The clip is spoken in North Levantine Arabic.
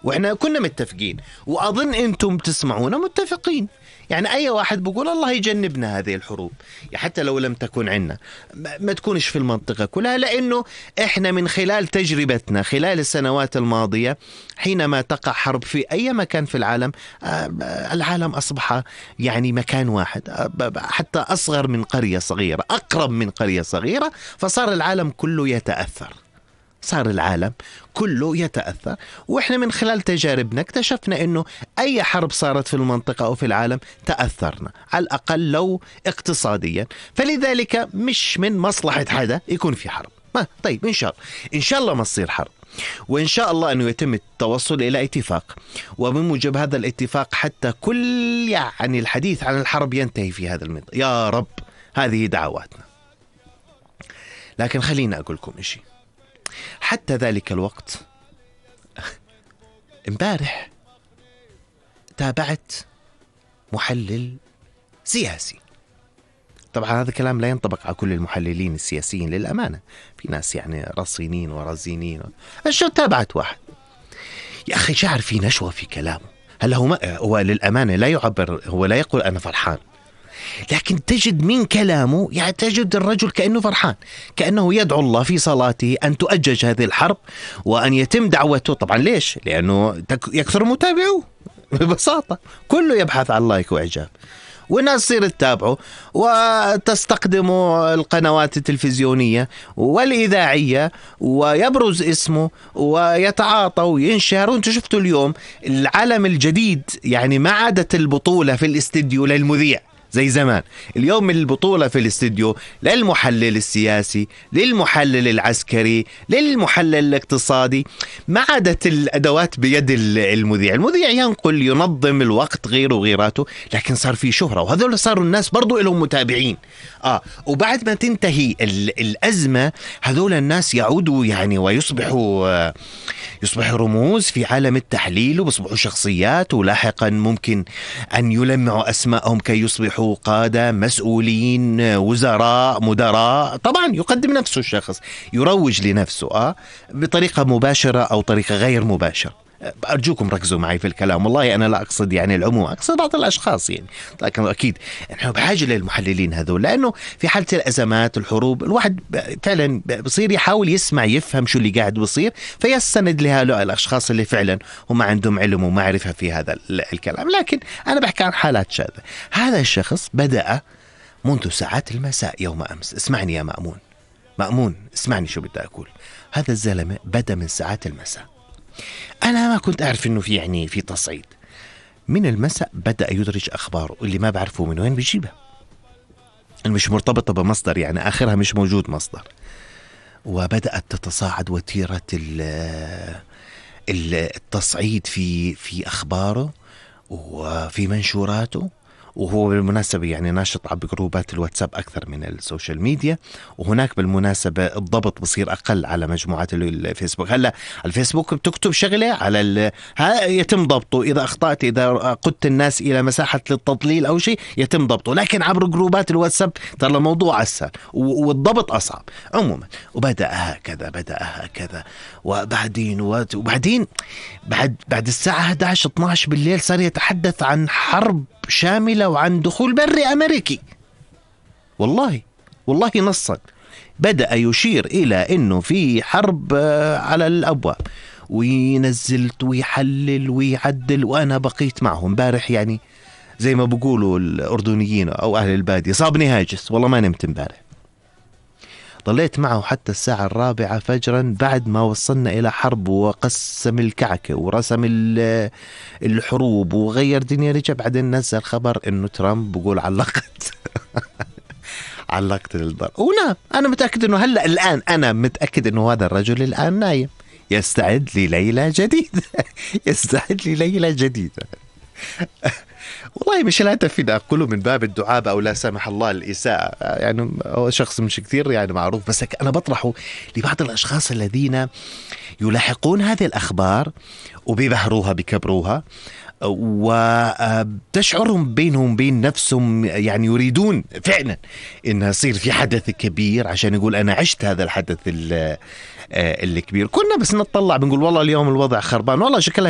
وإحنا كنا متفقين، وأظن أنتم تسمعونا متفقين. يعني أي واحد بيقول الله يجنبنا هذه الحروب، حتى لو لم تكن عنا، ما تكونش في المنطقة كلها، لأنه إحنا من خلال تجربتنا خلال السنوات الماضية حينما تقع حرب في أي مكان في العالم، العالم أصبح يعني مكان واحد، حتى أصغر من قرية صغيرة، أقرب من قرية صغيرة، فصار العالم كله يتأثر، صار العالم كله يتأثر. وإحنا من خلال تجاربنا اكتشفنا أنه أي حرب صارت في المنطقة أو في العالم تأثرنا، على الأقل لو اقتصاديا. فلذلك مش من مصلحة حدا يكون في حرب. طيب إن شاء الله ما تصير حرب، وإن شاء الله أنه يتم التوصل إلى اتفاق، وبموجب هذا الاتفاق حتى كل يعني الحديث عن الحرب ينتهي في هذا المنطقة، يا رب، هذه دعواتنا. لكن خلينا أقول لكم إشي. حتى ذلك الوقت امبارح تابعت محلل سياسي. طبعا هذا الكلام لا ينطبق على كل المحللين السياسيين للأمانة، في ناس يعني رصينين ورزينين. الشو تابعت واحد يا أخي شعر في نشوة في كلامه. هلا هو للأمانة لا يعبر، هو لا يقول أنا فرحان، لكن تجد من كلامه يعني تجد الرجل كأنه فرحان، كأنه يدعو الله في صلاته أن تؤجج هذه الحرب وأن يتم دعوته. طبعا ليش؟ لأنه يكثر متابعوه ببساطة، كله يبحث عن لايك وإعجاب، والناس تصير تتابعه وتستخدم القنوات التلفزيونية والإذاعية ويبرز اسمه ويتعاطى وينشهر. وانتم شفتوا اليوم العالم الجديد، يعني ما عادت البطولة في الاستديو للمذيع زي زمان. اليوم البطولة في الاستديو للمحلل السياسي، للمحلل العسكري، للمحلل الاقتصادي. ما عادت الأدوات بيد المذيع. المذيع ينقل، ينظم الوقت، غيره وغيراته، لكن صار في شهرة، وهذول صاروا الناس برضو لهم متابعين. وبعد ما تنتهي الأزمة هذول الناس يعودوا يعني ويصبحوا رموز في عالم التحليل، وبصبحوا شخصيات، ولاحقا ممكن أن يلمعوا أسماءهم كي يصبحوا قادة، مسؤولين، وزراء، مدراء. طبعا يقدم نفسه الشخص، يروج لنفسه بطريقة مباشرة أو طريقة غير مباشرة. أرجوكم ركزوا معي في الكلام، والله أنا لا أقصد يعني العموم، أقصد بعض الأشخاص يعني. لكن أكيد نحن بحاجة للمحللين هذول، لأنه في حالة الأزمات الحروب الواحد فعلا بصير يحاول يسمع، يفهم شو اللي قاعد بصير، فيستند لهؤلاء الأشخاص اللي فعلا هم عندهم علم ومعرفة في هذا الكلام. لكن أنا بحكي عن حالات شاذة. هذا الشخص بدأ منذ ساعات المساء يوم أمس. اسمعني يا مأمون، اسمعني شو بدي أقول. هذا الزلمة بدأ من ساعات المساء. أنا ما كنت أعرف إنه في تصعيد. من المساء بدأ يدرج أخباره اللي ما بعرفه من وين بيجيبها، مش مرتبطة بمصدر، يعني آخرها مش موجود مصدر. وبدأت تتصاعد وتيرة التصعيد في أخباره وفي منشوراته. وهو بالمناسبة يعني ناشط على جروبات الواتساب أكثر من السوشيال ميديا، وهناك بالمناسبة الضبط بصير أقل على مجموعات الفيسبوك. هلا الفيسبوك بتكتب شغلة على يتم ضبطه، إذا أخطأت، إذا قدت الناس إلى مساحة للتضليل أو شيء يتم ضبطه، لكن عبر جروبات الواتساب ترى الموضوع أسهل والضبط أصعب. عموما وبدأ هكذا وبعدين بعد الساعة 11-12 بالليل صار يتحدث عن حرب شاملة وعن دخول بري أمريكي. والله نصا بدأ يشير إلى أنه في حرب على الأبواب، وينزلت ويحلل ويعدل. وأنا بقيت معهم امبارح، يعني زي ما بقولوا الأردنيين أو أهل البادية، صابني هاجس، والله ما نمت امبارح. ضليت معه حتى الساعة 4 فجرا، بعد ما وصلنا إلى حرب وقسم الكعكة ورسم الحروب وغير دنيا. رجع بعدين نزل خبر إنه ترامب بقول علقت الضرب ونام. أنا متأكد إنه الآن أنا متأكد إنه هذا الرجل الآن نايم يستعد لليلة جديدة. والله مش الهدف إذا أقوله من باب الدعابة أو لا سمح الله الإساءة، يعني هو شخص مش كثير يعني معروف، بس أنا بطرحه لبعض الأشخاص الذين يلاحقون هذه الأخبار وبيبهروها بكبروها وتشعرهم بينهم بين نفسهم يعني يريدون فعلا إنها يصير في حدث كبير عشان يقول أنا عشت هذا الحدث الكبير. كنا بس نطلع بنقول والله اليوم الوضع خربان، والله شكلها